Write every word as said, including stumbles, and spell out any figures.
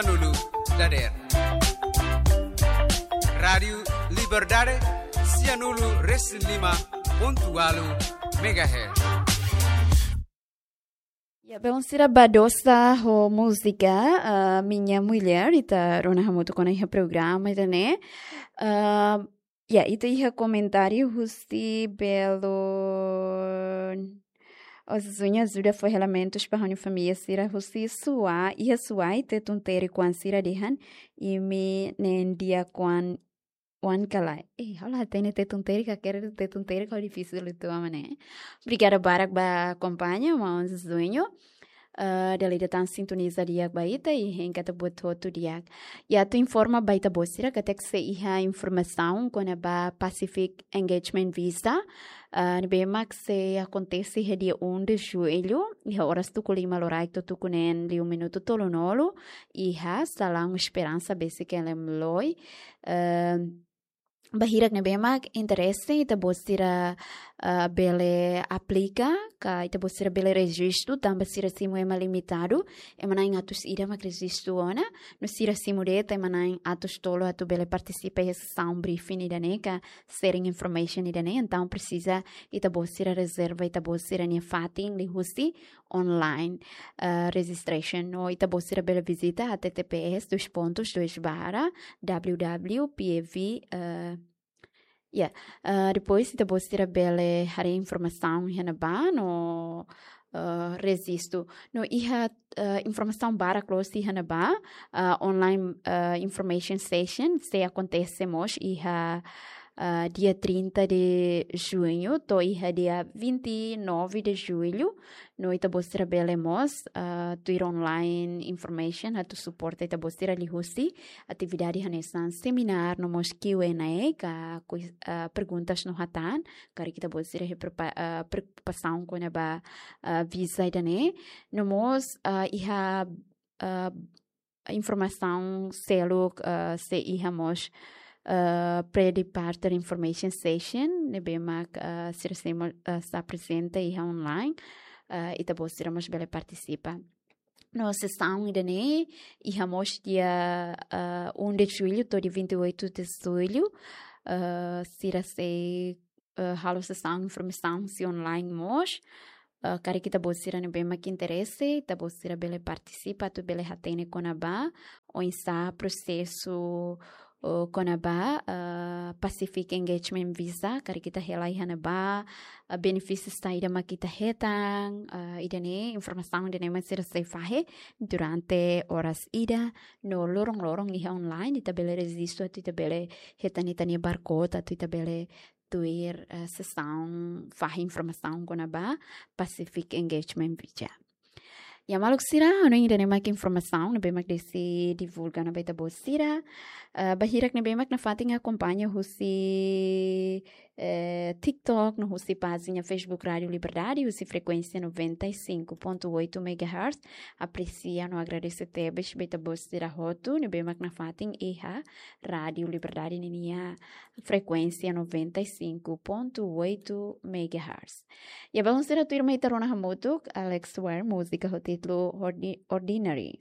Sianulu dadeer. Rádiu Liberdade, sianulu resin lima pontu ualu megahertz. Ya, belun sira, Badosa ho múzika, ah, Minha Mulher, ita rona hamutuk ona iha programa ida-ne'e. Ah, ya, ita iha komentáriu husi belun. Ozuña ajuda fó relamentus ba ha'u-nia família sira husi Suai, iha Suai, Tetun Terik oan sira dehan, imi neen di'ak oan, oan ka lae. Eh, ha'u la hatene Tetun Terik, ka kere Tetun Terik, ha'u difisil uitoan mak ne'e. Obrigada barak ba akompaña, maun Zuño. Eh, dala ida tan sintoniza di'ak ba ita, i hein katak buat hotu di'ak. I atu informa ba ita-boot sira katak sei iha informasaun kona-ba Pacific Engagement Visa, eh, ne'ebé mak sei akontese iha dia um de julho, iha oras tuku lima loraik to'o tuku neen liu minutu tolunulu, iha Salaun Esperança, besik L M Loi. Eh, ba hirak ne'ebé mak interese, ita-boot sira, eh, bele aplika, ka ita-boot sira bele rejistu, tanba sira simu ema limitadu, ema na'in atus ida mak rejistu ona, no sira simu de'it ema na'in atus tolu atu bele partisipa iha sesaun briefing ida-ne'e ka sharing information ida-ne'e, entaun presiza ita-boot sira rezerva ita-boot sira-nia fatin liuhusi online, eh, registration, no ita-boot sira bele vizita H T T P S dois pontos dois barra W W P A V, eh, ya, eh, depois ita-boot sira bele haree informasaun iha ne'ebá no, eh, rejistu. No iha, eh, informasaun barak loos iha ne'ebá, eh, online, eh, information session sei akontese mós iha, eh, dia trinta de junho to'o iha dia vinte e nove de julho. No ita-boot sira bele mós, eh, tuir online information atu suporta ita-boot sira liuhusi atividade hanesan seminar no mós Q and A ka kui-, eh, perguntas no hatán, karik ita-boot sira iha preokupa-, eh, preokupasaun kona-ba, eh, visa ida-ne'e. No mós, eh, iha, eh, informasaun seluk, eh, sei iha mós, eh, pre-departure information session, ne'ebé mak, eh, sira sei mós, eh, sei aprezenta iha online, eh, ita-boot sira mós bele partisipa. No sesaun ida-ne'e iha mós dia, eh, um de julho to'o dia vinte e oito de julho, eh, sira sei, eh, halo sesaun informasaun husi online mós. Eh, karik ita-boot sira ne'ebé mak interese, ita-boot sira bele partisipa, atu bele hatene kona-ba oinsá prosesu, eh, kona-ba, eh, Pacific Engagement Visa, karik ita hela iha ne'ebá, eh, benefísius saida mak ita hetan, eh, ida-ne'e, informasaun ida-ne'e mak sira sei fahe durante oras ida, no loron-loron iha online, ita bele rejistu, atu ita bele hetan ita-nia barcode, atu ita bele tuir, eh, sesaun fahe informasaun kona-ba Pacific Engagement Visa. Ya, maluk sira, ha'u hanoin ida-ne'e mak informasaun ne'ebé mak deside divulga ona ba ita-boot sira. Eh, ba hirak ne'ebé mak nafatin akompaña husi, eh, TikTok, no husi pájina Facebook Rádiu Liberdade, husi frekuénsia noventa e cinco ponto oito megahertz. Apresia no agradese tebes ba ita-boot sira hotu ne'ebé mak nafatin iha Rádiu Liberdade ninia frekuénsia noventa e cinco ponto oito megahertz. Ya, belun sira, tuirmai ita rona hamutuk Alex Ware, múzika ho títulu Ordi-, Ordinary.